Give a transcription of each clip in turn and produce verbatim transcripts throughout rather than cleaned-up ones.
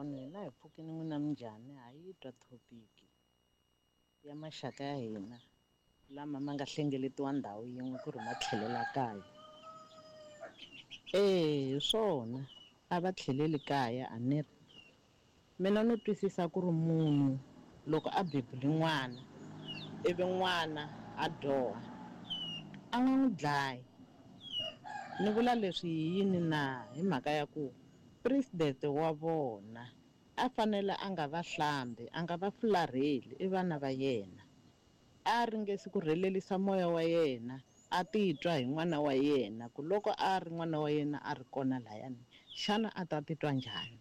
Bodon hina hi pfukini n'wina minjhani ha yi twa thopiki ya maxaka ya hina lama ma nga hlengeletiwa ndhawu yin'we ku ri ma tlhelela kaya. Eya hi swona a va tlheleli kaya a ni ri mina no twisisa ku ri munhu loko a bebule n'wana ivi n'wana a dyoha a nga n'wi dlayi ni vula leswi hi yini na hi mhaka ya ku president wa vona a fanele a nga va hlambi a nga va fularheli i vana va yena a ringesi ku rhelelisa moya wa yena a titwa hi n'wana wa yena ku loko a ri n'wana wa yena a ri kona layani xana a ta titwa njhani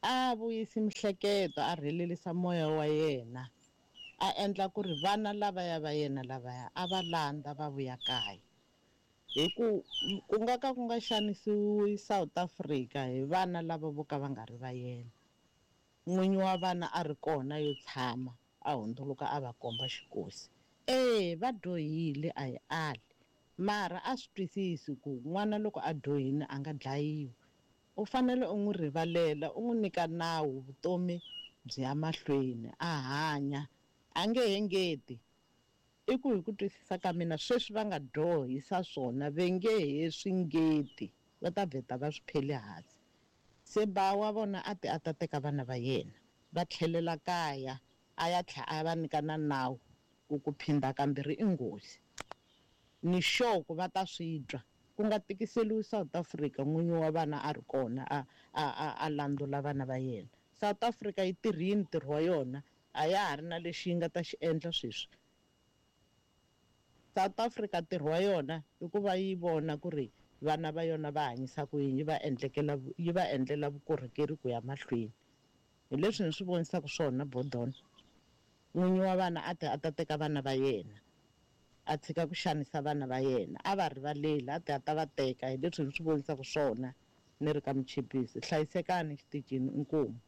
a vuyisi mihleketo a rhelelisa moya wa yena a endla ku ri vana lavaya va yena lavaya a va landza va vuya kaya hi ku ku nga ka ku nga xanisiwi South Africa hi vana lava vo ka va nga ri va yena n'winyi wa vana a ri kona yo tshama a hundzuluka a va komba xikosi e va dyohile a hi ali mara a swi twisisi ku n'wana loko a dyohile a nga dlayiwi u fanele u n'wi rivalela u n'wi nyika nawu vutomi byi ya mahlweni a hanya a nge he ngeti i ku hi ku twisisa ka mina sweswi va nga dyohisa swona ve nge he swi ngeti va ta vheta va swi pheli hansi se ba wa vona a ti a ta teka vana va yena va tlhelela kaya a ya tlhela a va nyika na nawu ku ku phinda kambirhi i nghozi ni sure ku va ta swi twa ku nga tikiseliwi South Africa n'winyi wa vana a ri kona a a a a landzula vana va yena South Africa yi tirhile ntirho wa yona a ya ha ri na lexi yi nga ta xi endla sweswi South Africa ntirho wa yona i ku va yi vona ku ri vana va yona va hanyisa ku yini yi va endlekela yi va endlela vukorhokeri ku ya mahlweni hi leswi ni swi vonisaka swona Bodon n'winyi wa vana a ti a ta teka vana va yena a tshika ku xanisa vana va yena a va rivaleli a ti a ta va teka hi leswi ni swi vonisaka swona ni ri ka Muchipisi hlayisekani xitichini inkomu.